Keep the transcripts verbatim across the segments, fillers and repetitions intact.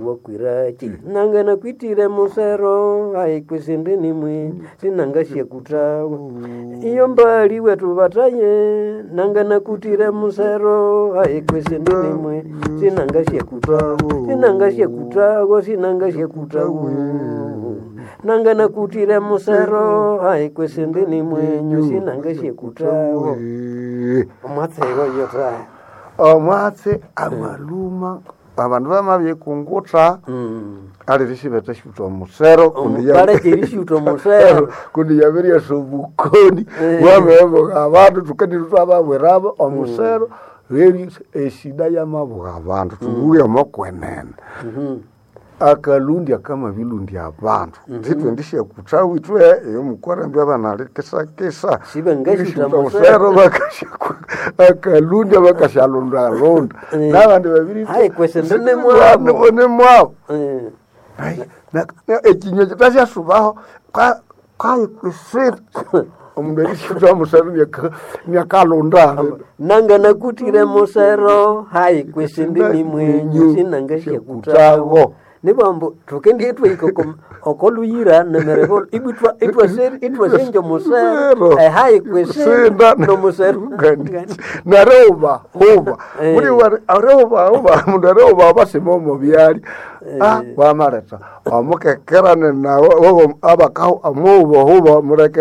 Wakwiraki nanga nakwitire musero aikwesende nimwe sinangasyakutawa iyo mbali wetu bataye nanga nakutire musero aikwesende nimwe sinangasyakutawa sinangasyakutawa sinangasyakutawa nanga nakutire musero aikwesende nimwenyu sinangasyakutawa omwatsego yota Omwatsi amaluma abandu bamabyekungutha mm. ali risibete syuta omusero kundi ya- Balekye omusero kundi yabiryasa obukoni Eh. bwabibuga abandu tukendire twababwirabo omusero reri esida yamabuga abandu tubuye omokwenene Mhm. akalundi akamabilundya abandu ntitwendishyakuthawa ithwe eyomukwarambi abana kisakisa Sibangasyutha musero bakasyaku- akalundya bakasyalundalunda Eh. nabandi babiri Hayi, kwesende nemwabo. nemwabo Eh. Ai, na- na- ekinywa kitasyasubaho kayikwesera omundu erisyutha musero nyakalunda nanga nakutire musero hayi kwesende ni mwenyu sinangasyakutawo nibambo tukendie twaika okoluyira nemereko ibwitwa itwasenja musero eh, hayi kwesenda nomusero nareuba huba Eh. muri areuba huba mundu areuba basima omo byali ah wamaleta omukekerane nawo abakahu amuuba huba mureke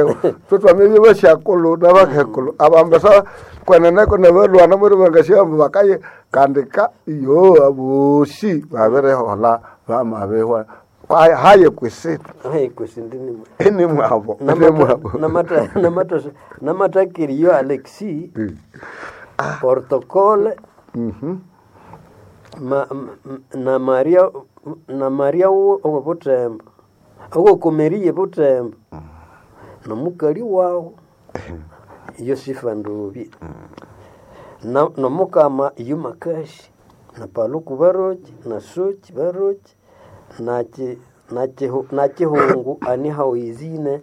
twetwamebye basyakuluna bakekulu abambesa kweneneko nebalwana muri bangasyamba bakaye kandika iyo abosi babirehola bamabihwa Kwa- haye kwisita hayi kwesende ni mwenyu nimwabo nimwabo namatakiriyo alexi Mm. protocole Mhm. ma, m- na Maria na Maria owo butembo owokomeriye butembo nomukali wawo Yosifa Ndubi na nomukama Yumakashi na Paluku Baroki na Soki Baroki na ki na kihu- na kihungu ani haoizine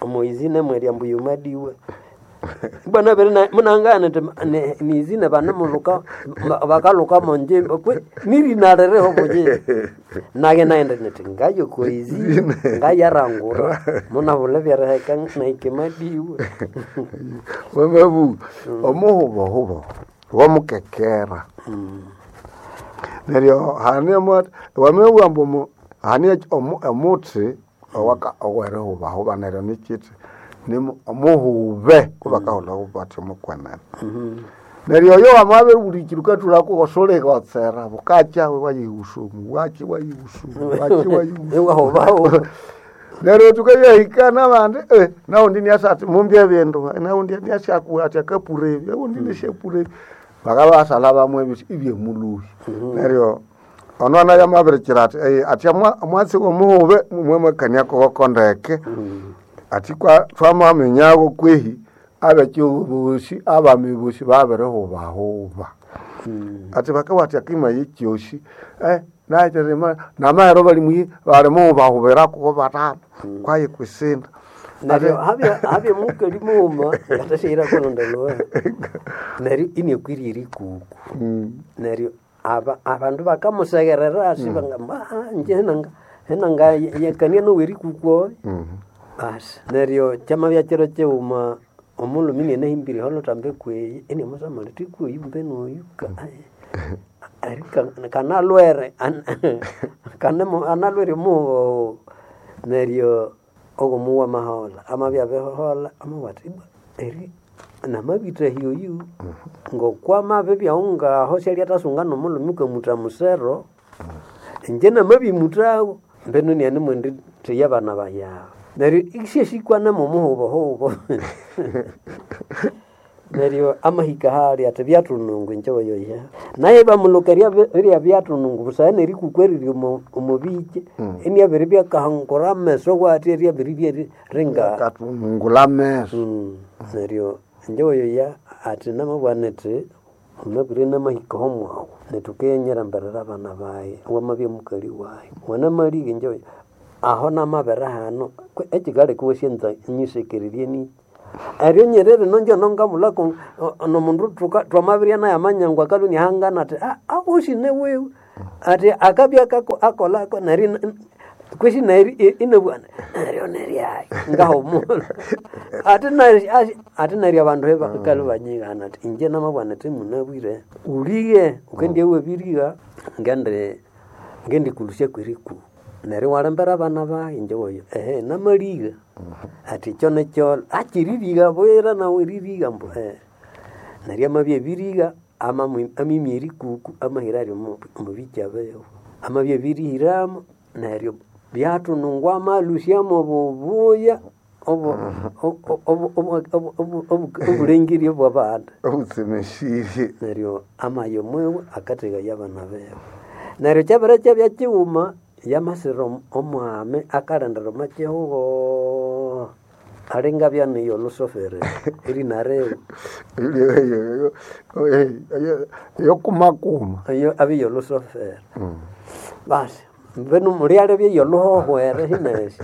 omoizine mwerya mbu yumadiwe bwana bere na munangana ti nizine bana muluka bakaluka monje kwe nirinalereho boje nage naenda niti ngayo koizi ngayarangura munabula byaraheka naikemadiwe Wamabu omuhubohubo wamukekera neryo hane wamebugha ambu omu- hane omu- omuthi owaka owerihubahuba neryo nikithi nimu- omuhube kubakahulha bathi mukwenene neryo oyo wamabiribulikira ukathulako wosuligotsera bukakya wayihusumu waki wayihusumu waki wayihusumu Iwahubahuba. neryo tukayahika nabandi eh, naundi niasa ati mumbye ebindu naundi niasyaku ati akapura ebi aundi nisyapura ebi bakabasala bamwe ebisi ibyemuluhi neryo ono anaye amabirikira ati eh, ati amwa- omwatsi womuhube mumwe koko ndeke ati kwa twamamenyago kwehi abekyogo bosi abami bosi babirihubahuba ati bakawati akima yekyosi eh naiterema namahero bali mwi bali muhubahubirako batano kwaye kwisinda neryo habya habya mukali muuma ngatashaira kulondoloa neryo iniekwirya erikuku neryo aba abandu bakamusegerera asi bangamba "Ah, nje henanga henanga yekania nowerikuku oyo basi neryo kyamabya kiro kighuma omulumi nianahimbire holutambi kweyi iniamusamali tikweyi mbene oyu ka- eri ka- kanalwere an- kanemo- analwere muhoho neryo ogomuwa mahola amabya abihola amabwati "Ibwa, eri namabitahya oyu ngokwamabibyahu ngaho syali atasunga nomulumi ukamuta musero inje namabimutago mbeno niani theya abana bayawe neryo isyesikwana momuhubohubo neryo amahika hali ati byatunungu inje oyoya naye bamuluka rya byatunungu busana nerikuku eriri omu- omubike eniabiri byakahangura ameso wati eryabiri byeringa katunungula meso Mm, neryo inje oyoya ati namabwana ati unabwire namahika homwawu netukenyera mberera abana baye wamabya mukali waye wanamalike inje oyo aho namabere hano kwe- ekikaleka wasyenza nyisekererye niki eryo nyerere nonje nongamulako nomundu tuka- twamabirya naye amanyangu akalwe nihangana ati "Ah, awosi newewe Ati akabya kako akolako neryo kwesi neri inabwana neryo neryayi ngahumula ati neri ati neryo abandu kale banyighana ati inje namabwana ati munabwire ulighe ukendya wabiriga ngende ngendikulusya kweriku neryo walembera abana bayi inje woyo ehe namaliga ati ekyo nekyolo akiririga bwira nawe eririga mbu eh neryo amabya abiriga amimya erikuku amahira aryo omubikya biwe amabya abirihiramo neryo byathunungwa amalusyamu obubuya obulengeri obwabandi obutsemesirye neryo amaya omwiwe akathegaya abana biwe neryo kyabere kyabya kighuma yamasira omwami akalindira omo kihugho alinga byaniyo olusofere erinariwe yokumakuma eyo abiyo olusofere basi mbenu mulyalya byeyo oluhohwere hinesi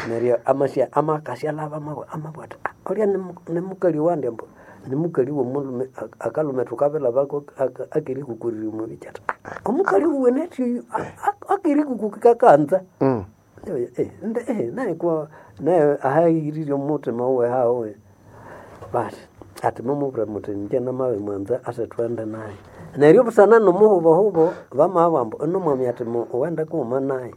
neryo amasya amakasya alaba amabwa ati olya nimukali wandi ambu nimukali womulhume akalume thukabilhabako akirikukurira omubiki ati omukali wuwe nethi oyu akirikuku kakanza naye kwa naye ahahirire omuthima wuwe hawe basi ati mumubwira muthi inje namabi mwanza asithwende naye neryo busana nomuhubohubo bamabugha ambu ino mwami ati wende kughuma naye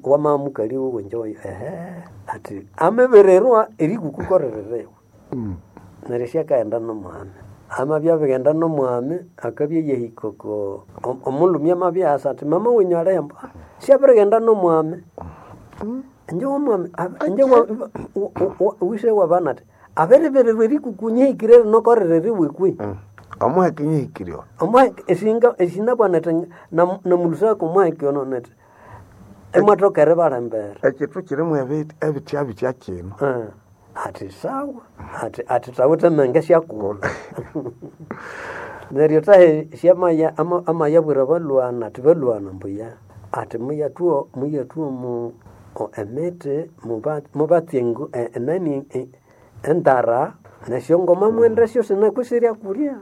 wama mukali wuwe inje oyo ehe ati amibirirwa erikukukorererewe neryo syakaghenda nomwami amabya abighenda nomwami akabya yahika oko omulhume amabya asa ati mama wenyu alihi ambu syabirighenda nomwami inje womwami inje wise wabana ati abiribirirwa erikuku nyihikire rinokorereriwe kwi omuheke nyihikire ono omuheke esinga esinabwana ati namulusako omuheke ono neti imwathoka eribalembera ekyithu kyirimu ebitya bitya kino ati sawa ati ati thawithe menge syakulha neryo thahe syamaya amayabwira balhwana ati balhwana mbuya ati muyathuo muyathuo mu emithi mubatse enani endara nesyongoma mwende syosi nakusirya kulya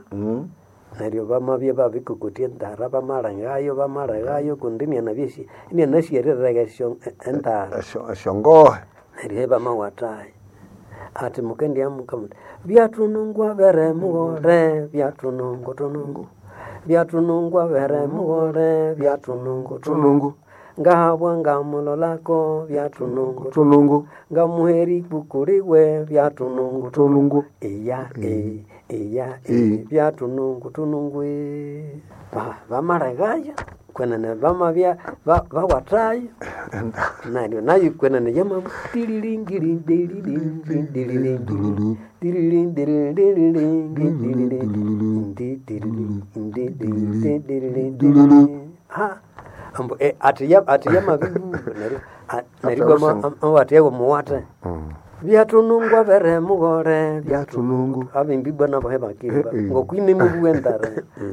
neryo bamabya babikokotya endara bamalengayo bamalengayo kundi inianabya inianasyerirega esyo endara esyongohe neryo ibamawathayo ati mukendyamuka muthi byathunungwa bere mughole byathunungu thunungu byathunungwa bere mughole byathunungu thunungu ngahabwa ngamulolako byathunungu thunungu ngamuheri kukuliwe byathunungu thunungu iya e iya e byathunungu thunungu bamalegaya kwenene bamabya bawathayo neryo nayo kwenene yama ambu ati ati yamabibu neryo neryo amawathe muwathe byathunungwa bere mughole byathunungu abimbi bwana bohe bakimba ngokwine mubuwe ndare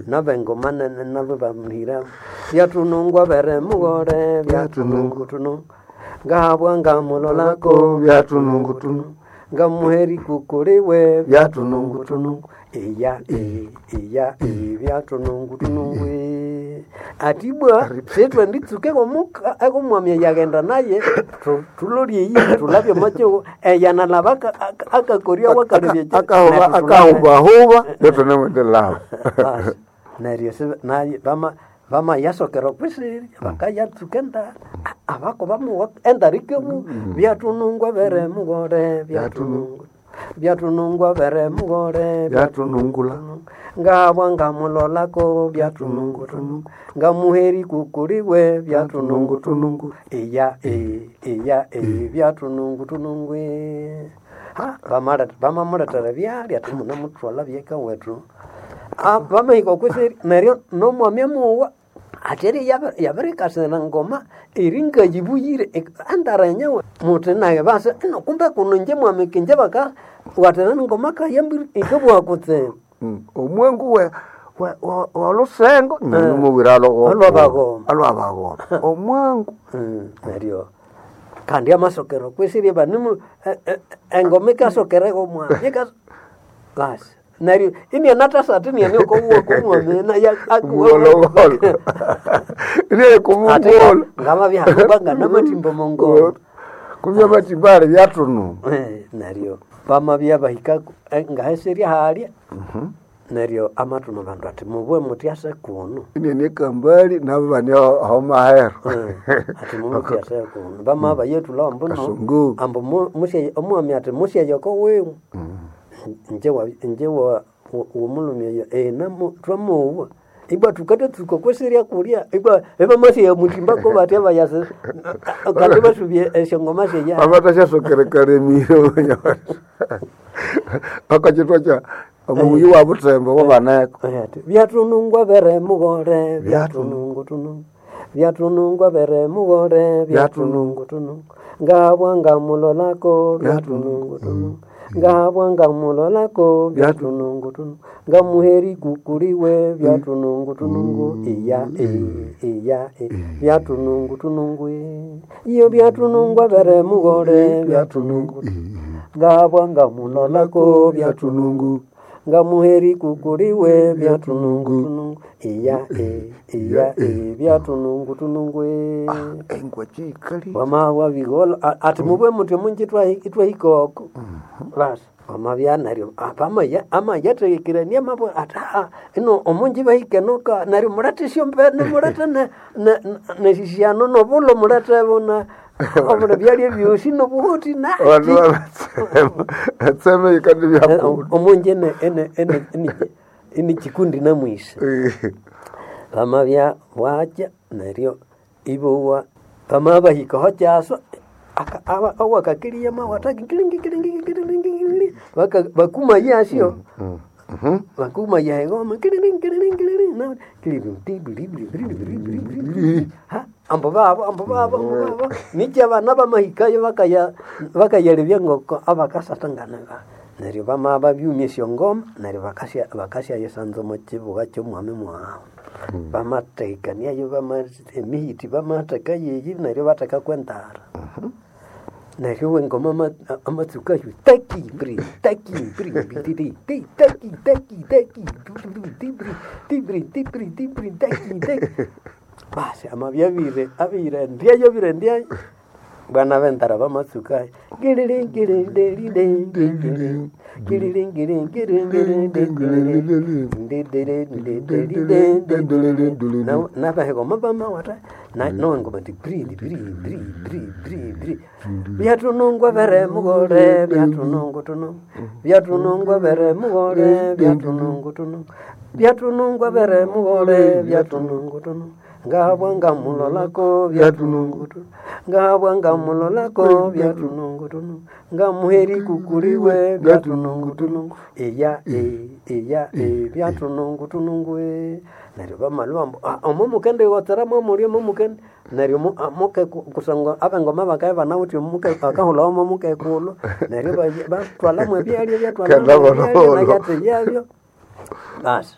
nabengoma nene nabo bamhira byathunungwa bere mughole byathunungu thunungu ngahabwa ngamulolako byathunungu thunungu ngamuheri kukuliwe byathunungu thunungu iya e iya e byathunungu thunungu atibwa sithwenditsuka ekomwami yaghenda naye thulolye eyi thulabye omakihugho eyanalaba akakorya wakalebya akahubahuba nethunemwendelaba neryo bamayasokera okwisirya bakayatsuka endara abako bamuwa endara ikabu byathunungwa bere mughole byathunungu byathunungwa bere mughole byathunungula ngabwa ngamulolako byathunungu thunungu ngamuheri kukuliwe byathunungu thunungu iya e iya e byathunungu thunungu ha bamamulethera byalya ati munamuthwala byeka wethu bamahika okwisirya neryo nomwami amuwa ati eri yabirikasira ngoma eri ngayibuyire endara enyewe muthi naye basa ino kumbe kuno inje mwami kinje baka watera ngoma kayambiri ikabugha kutsibu omwengu we wolusengo numuwira Alwabagoma. alwabagoma omwengu neryo kandi amasokero kwisirie banimu engoma ikasokereko mwami basi Neryo inianatasata iniane okomuwa kumwamina Muwolowolo. Ine kumungolo. ngamabyahakubanga namatimba mongolo Kumya matimbale byatunu. Eh, neryo bamabya bahika ngaheserya halya neryo amatuma bandu ati mubwe mutyase kuno Ine ne kambali nabo bani aho mahero. Eh, ati mumutyase kuno bamaba yetula ambu no Kasungu. ambu mu- musye omwami ati musyeyoko wiwe nje wa nje wa womulumi oyo eh namo twamuwa ibwa tukatatsuka kweserya kulya ibwa ebamasye mutimbako batya bayase kandi basubye esyongoma syeya Abatashasokerekaremire akachitwa cha omuyi wa butembo wabaneko. Ati, byatunungwa bere mugore byatunungu tunungu byatunungwa bere mugore byatunungu tunungu ngabwa ngamulolako byatunungu tunungu ngabwa ngamulolako byatunungu tunungu ngamuheri kukuliwe byatunungu tunungu iya e iya e byatunungu tunungu e iyo byatunungwa bere mugore byatunungu ngabwa ngamulolako byatunungu ngamuheri kukuliwe byatunungu tunungu iya e iya e byatunungu tunungu e Engwa chikali. wama wabigola a- ati mubwe muti munji twahikoko basi wamabya neryo apamaya amayathekirania mabwe ati "Ah, ino omunji bahikenoka neryo mulete esyombene mulete ne- ne- nesisiano nobulo mulete bona obula byalya byosi nobuhuti Abantu naki babatsema. Tsema ikandi byakulu. omunji ene ene ene ene- ene chikundi namwisa pamabya bwakya neryo ibowa pamabahikaho kyaswa aka- aba- awakakiliya mawataki kilingi kilingi kilingi kilingi baka bakuma yasyo bakuma yegoma kilingi kilingi kilingi na kilingi ti bili bili bili bili bili bili ha ambo babo ambo babo ambo babo nikya abana bamahikayo bakaya bakayalebya ngoko abakasatangana ba neryo bama babyumya esyongoma neryo bakasya bakasyayisanza omu kibuga ky'omwami mwawu bamatekaniayo bama emihiti bamatheka yeyi neryo bathekaku entara neryo wengoma ama- amatsukayo taki bri taki bri bri ti taki taki taki ti bri ti bri ti bri ti bri taki taki basi amabyabire abire ndyayo bire ndyayo bwana bentara bamatsukayo nabahegoma bamawata nowengoma ti bri bri bri bri bri bri byatunungwa bere mugore byatunungu tunungu byatunungwa bere mugore byatunungu tunungu byatunungwa bere mugore byatunungu tunungu ngabwa ngamulolako byatunungu tunungu ngabwa ngamulolako byatunungu tunungu ngamuheri kukuliwe byatunungu tunungu iya e iya e byatunungu tunungu e neryo bamalwa ambu "Ah, omo mukende iwotsera mwamulya omo mukende neryo mu- ah, muke ku- kusangwa abengoma bakaye banawithe omuke akahulha omo mukekulhu neryo ba- batwalamu ebyalya Kenda byatwalamu bololo. ebyalya basi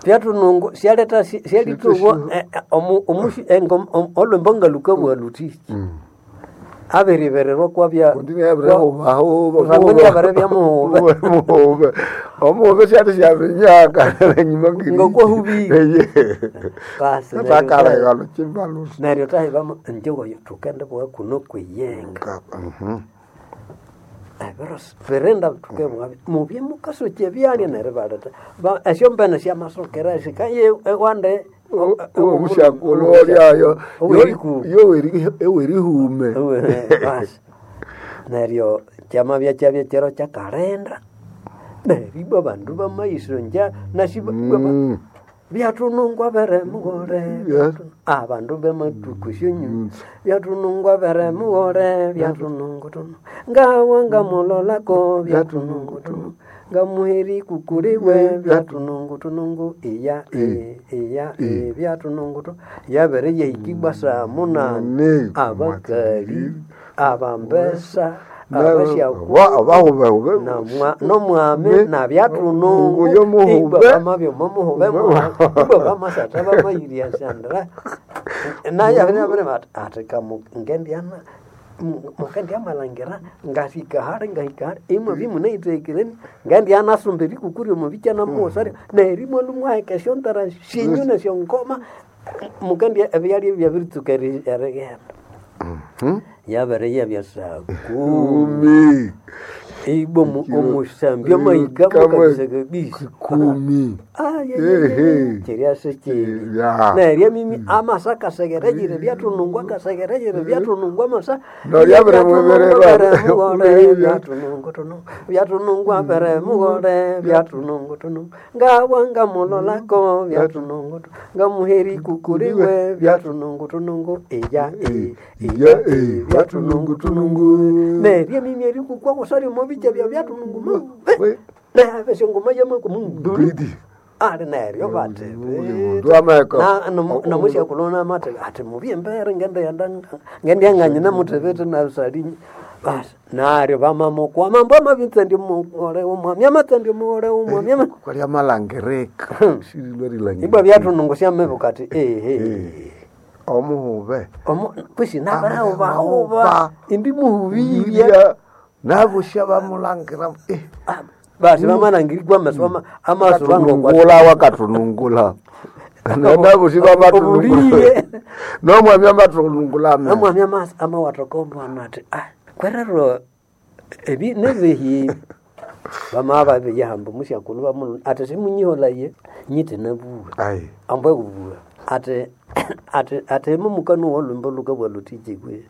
byatunungu syaleta syalituwa olwembo ngalukabwa luthiki abiribererwa kwabya Kundini yabire hubaho. Kusangwa yabire byamuhube. Muhube. Omuhube syali syabinyaka enyuma ngiri. Ngokwahubire. Basi, neryo Takala chimbalusi. neryo tahiba njewayo tukende bwa kuno kweyenga ebiro birenda tukebwa mubye mukasoki ebyalya neryo baleta Ba- esyombene syamasokera sikaye ewande Omushakulu olyayo. oweriku Yowerihume. basi neryo kyamabya kyabya kyero kyakalenda neryo ibwa bandu bamaisonja nasi Mm. byatunungwa bere mugore Yes. abandu bematuku syonyu byatunungwa bere mugore byatunungu tunu ngawa ngamulolako byatunungu tunu ngamuheri kukuliwe byatunungu tunungu iya e iya e byatunungu tu yabere yahikibwa saa munani Munani. abakali abambesa abasyaku Abahubehube. namwa nomwami nabyatunungu Uyo muhube. bamabyo momuhube ibwa bamasatha bamayirya sandra naye abere abere bati ati kamu ngendyana Mukendi amalangira ngahika hali ngahika hali imwe bimunayitekireni ngendi anasumba erikukuri omu bicha namuwosarya neryo imwe lumwaheka esyontara syenyu nesyongoma mukendi ebyalya byabiritsuka eri- erighenda yabere yabya saa kumi Kumi. ibwa omu- omusambi amahika Kama- mukabisa kabisa Kumi. Ehe. kyeryase kyebi Ya. neryo mimi amasa kasegerejire byatunungwa kasegerejire byatunungwa amasa No, lyabere mwebererwa. byatunungu tunungu byatunungwa bere mughore byatunungu tunungu ngabwa ngamulolako byatunungu tu- ngamuheri kukuliwe byatunungu tunungu iya e, iya e, byatunungu tunungu neryo mimi erikukwa kusari omubicha bya byatunungu mu We. nabesyo yamaku munduli Bridi. ali neryo bate Uli mundu ameka. namusyakulona mate ati mubi embere ngendiyanganye namutebete nasalinye basi naryo vamamukwa mambo amavitsendi mughole umwami amatsendi mughole umwami ama- Kwali amalangirika. Shirilwe rilangirika. ibwa byatunungu syamebuka ati ehe Omuhube. Omu- kwisi Abahuba. nabahubahuba indi muhubirya Ibya. Nabusha bamulangira. Eh. basi vamalangirikwa amasu ama- amasu vangokwa Katunungula wakatunungula. Nabushi babatunungula. Obuliye. Nomwami amatunungula ame. amwami amasi amawathoka omwana ati ah kwerero ebi nebihi bamaba babiyahamba musyakulhu bamulu ati simunyiholaye nyite nabuwa Ai. ambwe kubuwa ati ati ati mumukanu wolwimbo lukabwa lutijikwe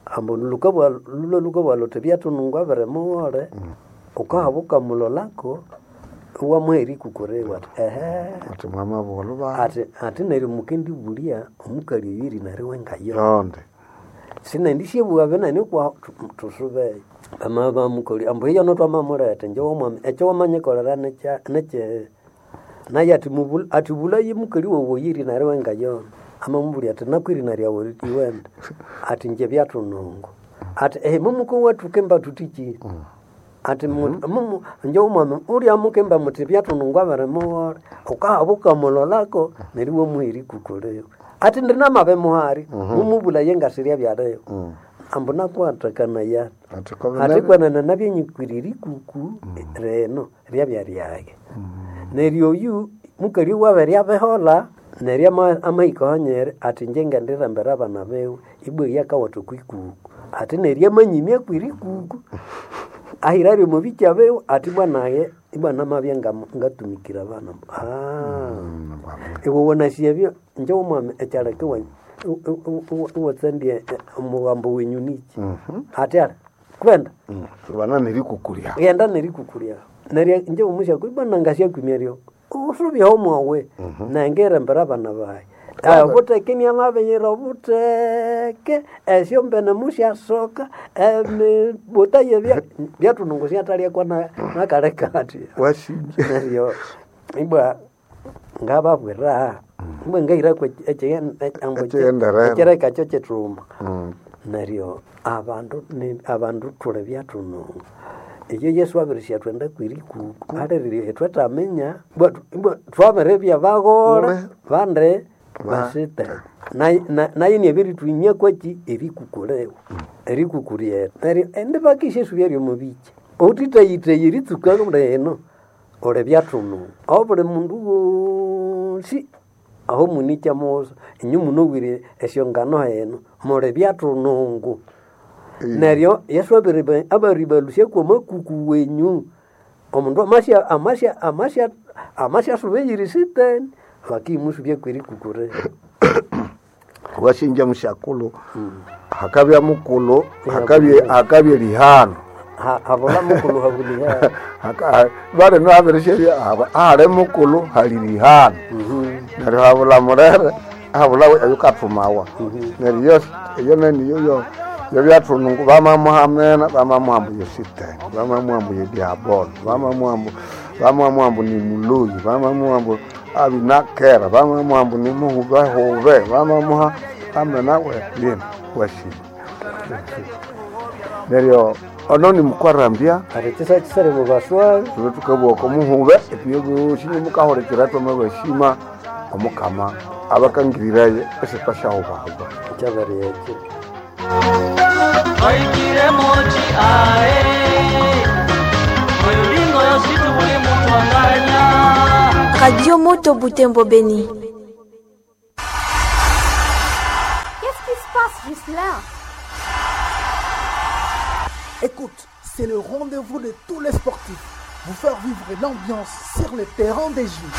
ambo lukabwa lulo lukabwa luti byatunungwa bere mughole ukahaba ukamulolako wamuheri kukurewa ati ehe Ati mwama bolo ba. ati ati neryo mukendibulya omukali oyo erinariwe wengayo Yonde. sinendisyebuwa benene kwa tusube bama bamukoli ambu hiyo no twamamulete nje womwami ekyo wamanyikolera nekya nekye naye ati mubul ati bulaye mukali wowo yiri nariwe ngayona amamubuli ati nakwiri naryawo iwenda ati nje byatunungu ati ehe mumuko watukemba tutiki ati mu- mumu nje omwami ulya mukemba muti byatunungu abere mughole ukahaba ukamulolako neryo wamuheri kukoleyo ati ndinamabe muhari mumubulaye ngasirya byaleyo ambu nakwatakana Ati kobe ati kwanana nabyenyikwirira ikuku reno ryabya ryage neryo oyu mukali wabere abehola neryo ama- amahika hanyere ati nje ngendirembera abana bewe ibwa yakawatha okwikuku ati neryo amanyimya akwira ikuku ahira ryo mubicha bewe ati bwanaye ibwana mabya nga- ngatumikira abana ah iwe wonasiebyo nje omwami ekyaleka iwatsandie omugambo wenyu niki ati ara kwenda Bana nerikukulya. ghenda nerikukulya neryo nje omusyaku ibwana ngasyakwimya ryo usubyeho mwawe nengerembera abana bayi obuteke niamabiyira obuteke esyo mbene musyasoka emibuta yebya byatunungu syatalyakwa nakaleka ati Wasinje. neryo ibwa ngababwira ibwa ngahirako Ekighendererwa. ekireka kyo kyithuma Mm. neryo abandu ni- abandu thuli byathunungu eyo yesu abirisya twenda kwirikuku alirire ithwetaminya ibwa ibwa twabiribya baghole Ule. bandi Ba- basite naye na- naye niabiritwinya kwaki erikukulewa erikuku ryetu neryo indi bakisya esubya ryomubicha otitayitayi eritsuka lino uli byathunungu obuli mundu wosi aho munikya musa inyu munowire esyongano heno muli byathunungu neryo yesu abiriba- abaribalusya kwamakuku wenyu omundu amasya amasya amasya amasyasuba eyiri siteni bakimusubya kwerikukure Wasinja musyakulu. Hakabya mukulu, hakabye hakabye lihano. habula mukulu habuliha Haka bale nabirisherya hali mukulu hali lihano. Neryo habula murere habula ayukathumawa. Neryo yo eyo neniyo yo yo byathunungu bamamuhamena bamamuhambu yositani bamamuhambu yediabolo bamamuhambu bamamuhambu ni muluyi bamamuhambu abinakera bamamuhambu ni muhubehube bamamuha amena we lina washima neryo ono ni mukwarambya ati kisa kisari mubaswabi tube tukabwoka omuhube etubyobosi nimukahulekera twamabashima omukama abakangiriraye esitwasyahubahuba kyabari ekyo Oikire mochi ae Oyolingo yositu buli muntu anganya Radio Moto Butembo Beni. Qu'est-ce qui se passe, Ghislain Écoute, c'est le rendez-vous de tous les sportifs. Vous faire vivre l'ambiance sur le terrain des jeux.